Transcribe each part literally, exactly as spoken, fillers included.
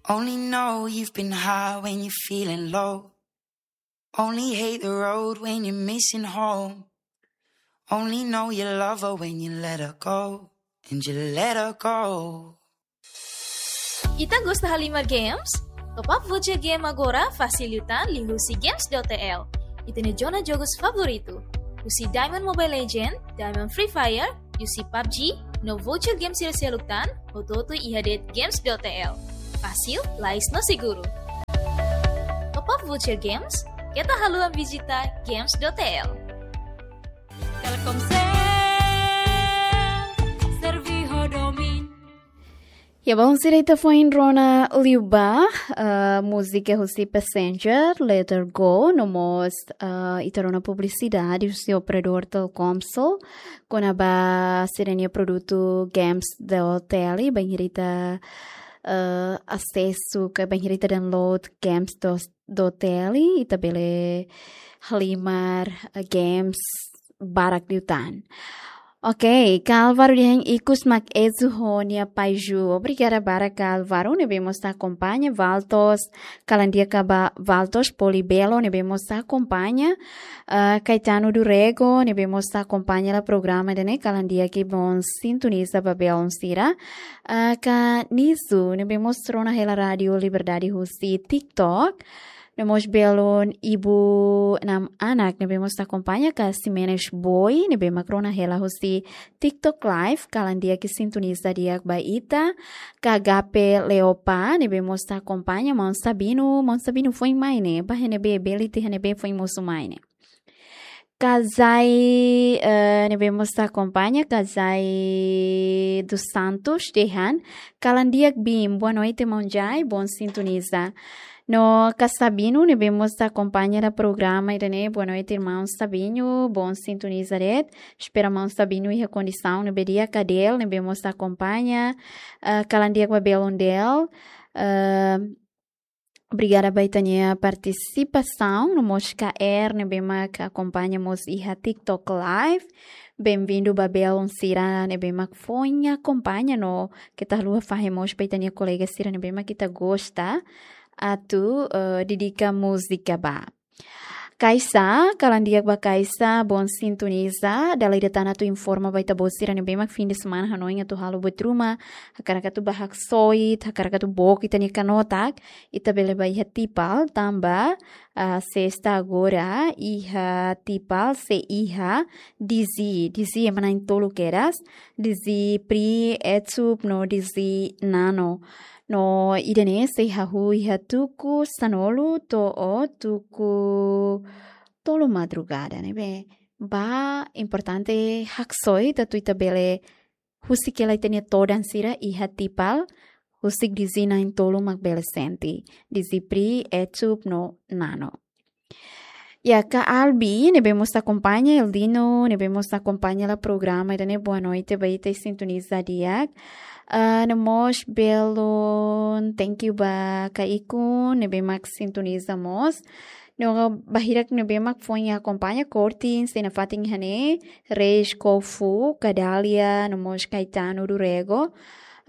Only know you've been high when you're feeling low. Only hate the road when you're missing home. Only know you love her when you let her go. And you let her go. Ita gosta halimar games? Top up voucher game agora fasil liután liuhusi games dot T L. Ita-nia zona jogus favoritu. Husi Diamond Mobile Legend, Diamond Free Fire, U C PUBG, no voucher games sira seluk tan, hotu-hotu iha de'it games dot T L. Fasil, lais no seguru. Top up voucher games, keta haluha vizita games dot T L. Telkomsel, serve ho domin. Ya, baun sira, ita foin rona liubá, eh, múzika husi Passenger, Let Her Go, no mós, eh, ita rona publisidade husi operadór Telkomsel, kona-ba sira-nia produtu games dot T L, bainhira ita, eh, asesu, ka bainhira ita download games dot T L, ita bele halimar, eh, games barak liután. Oke, ka Álvaro dehan ikus mak ezu ho nia paixu. Obrigada barak ka Álvaro, ne'ebé mós akompaña, Valtos, kalan di'ak ba Valtos Polibelo, ne'ebé mós akompaña, ah, Caetano do Rego, ne'ebé mós akompaña hela programa ida-ne'e, kalan di'ak i bom sintoniza ba belun sira. Ah, ka Nisu, ne'ebé mós rona hela Rádio Liberdade husi TikTok. No mós belun Ibu Nam Anak, ne'ebé mós akompaña, ka Ximenes Boy, ne'ebé mak rona hela husi TikTok Live, kalan di'ak i sintoniza di'ak ba ita, ka Gape Leopa, ne'ebé mós akompaña, Maun Sabino, Maun Sabino foin mai ne'e, ba iha ne'ebé, bele iha ne'ebé foin mosu mai ne'e. Ka Jai, eh, ne'ebé mós akompaña, ka Jai dos Santos, dehan, kalan di'ak Bim, boa noite, maun Jai, bom sintoniza. No ka Sabino, ne'ebé mós akompaña hela programa ida-ne'e, boa noite, irmão Sabino, bom sintoniza de'it. Espera maun Sabino iha kondisaun ne'ebé di'ak, ka Del, ne'ebé mós akompaña, eh, kalan di'ak ba belun Del, eh, obrigada ba ita-nia partisipasaun, no mós ka Er, ne'ebé mak akompaña mós iha TikTok Live. Bem-vindo ba belun sira ne'ebé mak foin akompaña, no keta haluha fahe mós ba ita-nia kolega sira ne'ebé mak ita gosta atu, eh, dedika múzika ba. Kaisa, kalan di'ak ba Kaisa, bom sintoniza, dala ida tan atu informa ba ita-boot sira ne'ebé mak fim de semana hanoin atu halo buat ruma, hakarak atu bá haksoit, hakarak atu book ita-nia kanotak, ita bele bá iha Tipal, tanba, ah, sesta agora, iha Tipal, sei iha, DJ, DJ ema na'in-tolu kedas, DJ Pri, Etsup, no DJ Nano. No ida-ne'e sei hahú iha tuku sanulu to'o tuku tolu madrugada, ne'ebé ba importante haksoit atu ita bele husik hela ita-nia todan sira iha Tipal, husik DJ na'in-tolu mak bele sente, DJ Pri, Etsup no Nano. Ya, ka Albi, ne'ebé mós akompaña, Eldino, ne'ebé mós akompaña hela programa ida-ne'e, boa noite ba ita, sintoniza di'ak. Ah, no mós belun, thank you ba ka Ikun, ne'ebé mak sintoniza mós. No bainhira ne'ebé mak foin akompaña, kortin, sei nafatin iha ne'e, Reis Kofu, ka Dália, no mós Caetano do Rego.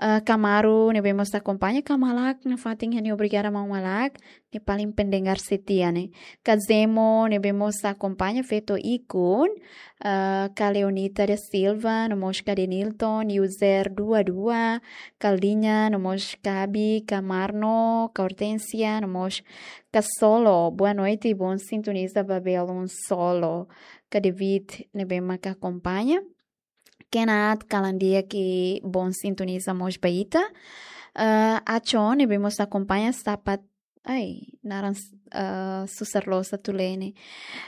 Ah, ka Maru, ne'ebé mós akompaña, ka Malak, nafatin iha ne'e, obrigada maun Malak. Ne'e paling pendengar setia ne'e. Ka Zemo, ne'ebé mós akompaña feto Ikun, ah, ka Leonita da Silva, no mós ka Denilton, user dua dua, ka Linha, no mós ka Abi, ka Marno, ka Hortensia, no mós ka Solo. Boa noite, bom sintoniza ba belun Solo. Ka David, ne'ebé mak akompaña. Kenat, kalan di'ak i bom sintoniza mós ba ita. Ah, Achon, ne'ebé mós akompaña sapat, ai, naran, ah, susar loos atu lee ne'e.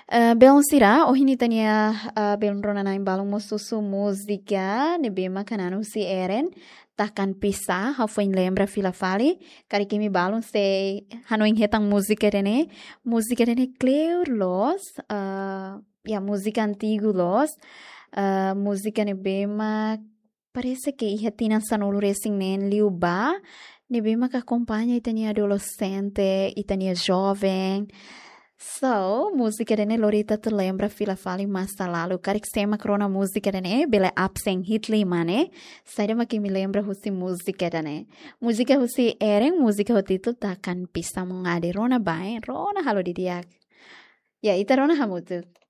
Ah, belun sira, ohin ita-nia, ah, belun rona-na'in balun mós husu múzika, ne'ebé mak hanan husi Eren, Takkan Pisah, ha'u foin lembra fila fali, karik imi balun sei hanoin hetan múzika ida-ne'e, múzika ida-ne'e kleur loos, ah, ya, múzika antigu loos, ah, múzika ne'ebé mak parese ke iha tinan sanulu-resin-neen liubá, ne'ebé mak akompaña ita-nia adolexente, ita-nia joven, So, múzika ida-ne'e lori ita atu lembra fila fali masa lalu. Karik sé mak rona múzika ida-ne'e, bele absen hi'it liman ne'e. Saida mak imi lembra husi múzika ida-ne'e? Múzika husi Eren, múzika ho títulu Takkan Bisa Mengadu. Rona bá, rona halo didi'ak. Ya, ita rona hamutuk.